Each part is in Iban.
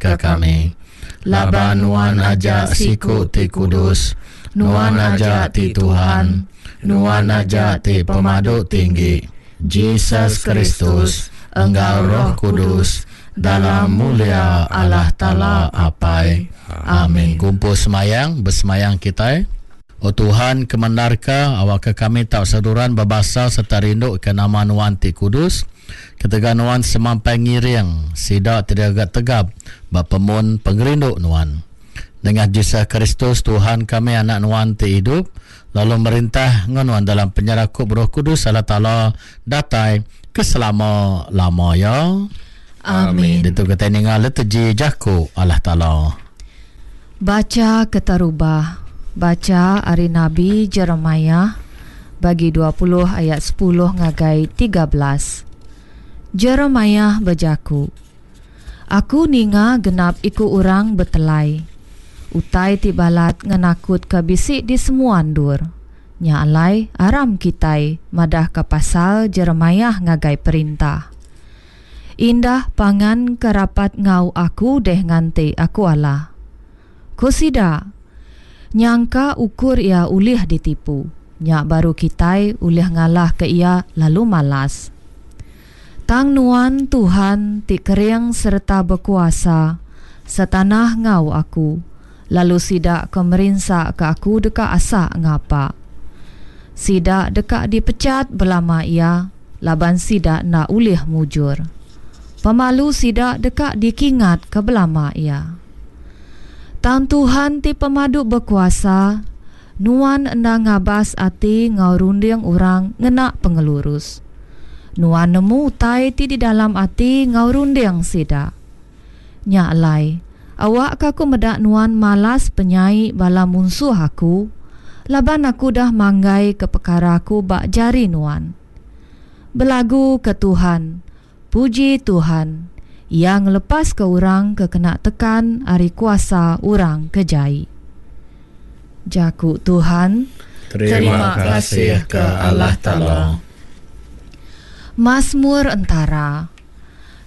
ke kami. Laban Nuan aja siku ti kudus, Nuan aja ti Tuhan, Nuan aja ti Pemadu Tinggi, Jesus Kristus, enggau Roh Kudus, dalam mulia Allah Taala Apai. Amin. Gumpul semayang, besemayang kitai. O Tuhan, kemendarka awakka kami tau seruran bebasa sereta rinduka nama Nuan ti kudus, ketegal Nuan semampai ngiring sida ti digaga tegap ba pemun pengerindu Nuan. Nengah Jesus Kristus, Tuhan kami, Anak Nuan ti idup lalu merintah enggau Nuan dalam penyerakup Roh Kudus Allah Taala datai ke selama-lama iya. Amin. Ditu kitai ninga liturgi jaku Allah Taala. Bacha keterubah, Bacha ari Nabi Jeremiah bagi 20 ayat 10 ngagai 13. Jeremiah bejaku, Aku ninga genap iku orang betelai. Utai ti balat ngenakutka bisi di semua endur. Nya alai, aram kitai madahka pasal Jeremiah ngagai perintah. Indah pangan ke rapat enggau aku deh nganti aku alah. Ku sida, Nyangka ukur iya ulih ditipu, nya baru kitai ulih ngalahka iya lalu malas. Tang Nuan, Tuhan, ti kering sereta bekuasa, setanah enggau aku, lalu sida ke merinsaka aku deka asa ngapa. Sida deka dipechat belama iya laban sida enda ulih mujur. Pemalu sida deka dikingatka belama iya. Tang Tuhan ti Pemadu Bekuasa, Nuan enda ngabas ati enggau runding orang ngena pengelurus. Nuan nemu utai ti di dalam ati enggau runding sida. Nya alai, awakka aku meda Nuan malas penyai bala munsuh aku, laban aku udah manggaika pekara aku ba jari Nuan. Belagu ke Tuhan, puji Tuhan, Iya ngelepaska orang ke kena tekan ari kuasa orang ke jai. Jaku Tuhan. Terima kasih ke Allah Taala. Masmur entara.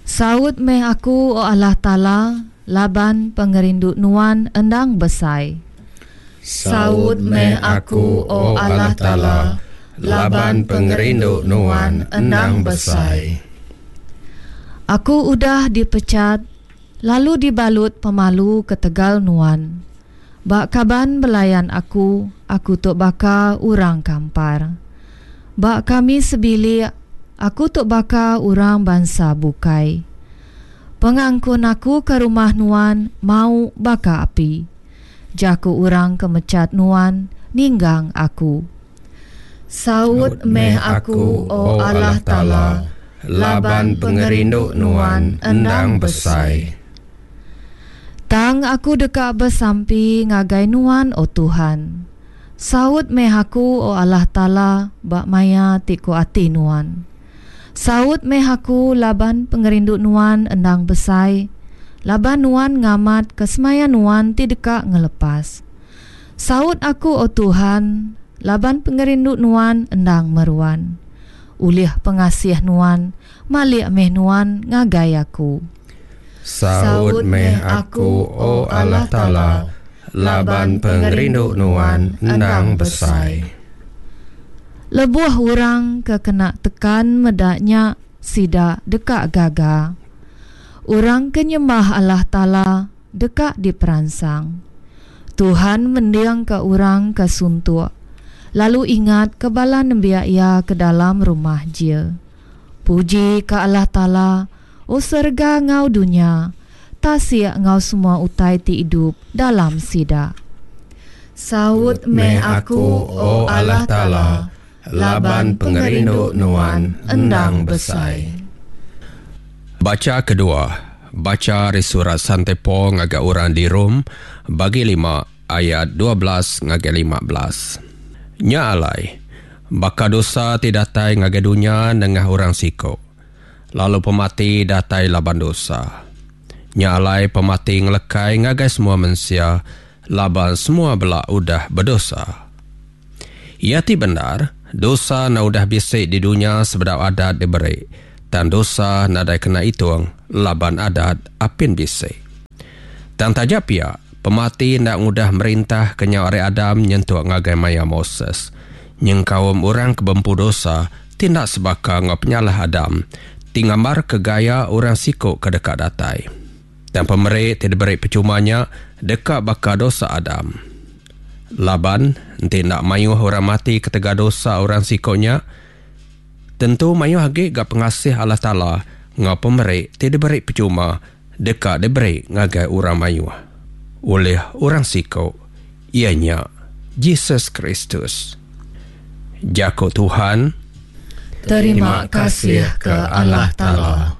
Saut meh aku, O Allah Taala, laban pengerindu Nuan endang besai. Saut meh aku, O Allah Taala, laban pengerindu Nuan endang besai. Aku udah dipechat lalu dibalut pemalu ketegal Nuan. Ba kaban belayan aku, aku tu baka orang kampar. Ba kami sebilik, aku tu baka orang bansa bukai. Pengangkun aku ke rumah Nuan mau baka api. Jaku orang ke mechat Nuan ninggang aku. Saut meh aku, O Allah Taala, laban pengerindu Nuan endang besai. Tang aku deka besampi ngagai Nuan, O Tuhan. Saut meh aku, O Allah Taala, ba maya ti ku ati Nuan. Saut meh aku laban pengerindu Nuan endang besai, laban Nuan ngamatka semaya Nuan ti deka ngelepas. Saut aku, O Tuhan, laban pengerindu Nuan endang meruan. Ulih pengasih Nuan, malik meh Nuan ngagai aku. Saut meh aku, O Allah Taala, laban pengerindu Nuan endang besai. Lebuh orang ke kena tekan meda nya, sida deka gaga. Orang ke nyembah Allah Taala deka diperansang. Tuhan mendingka orang ke suntuk, lalu ingatka bala nembiak Iya ke dalam rumah jil. Puji ka Allah Taala, O serega enggau dunya, tasik enggau semua utai ti idup dalam sida. Saut meh aku, O Allah Taala, laban pengerindu Nuan endang besai. Bacha kedua, Bacha ari surat Sante Paul ngagai orang di Rome, bagi lima, ayat 12 ngagai 15. Nya alai, baka dosa ti datai ngagai dunya nengah orang siku, lalu pemati datai laban dosa. Nya alai pemati ngelekai ngagai semua mensia laban semua bela udah bedosa. Iya ti bendar, dosa enda udah bisi di dunya sebedau adat diberi, tang dosa nadai kena itung laban adat apin bisi. Tang taja pia, pemati enda ngudah merintah kenyau ari Adam nyentuk ngagai maya Moses, nyengkaum orang ke bempu dosa ti enda sebaka enggau penyalah Adam, ti ngambarka gaya orang siku ke deka datai. Tang pemeri ti diberi pechuma nya deka baka dosa Adam. Laban, enti enda mayuh orang mati ketegal dosa orang siku nya, tentu mayuh agi ga pengasih Allah Taala enggau pemeri ti diberi pechuma deka diberi ngagai orang mayuh ulih orang siku, iya nya Jesus Kristus. Jaku Tuhan. Terima kasih ke Allah Taala.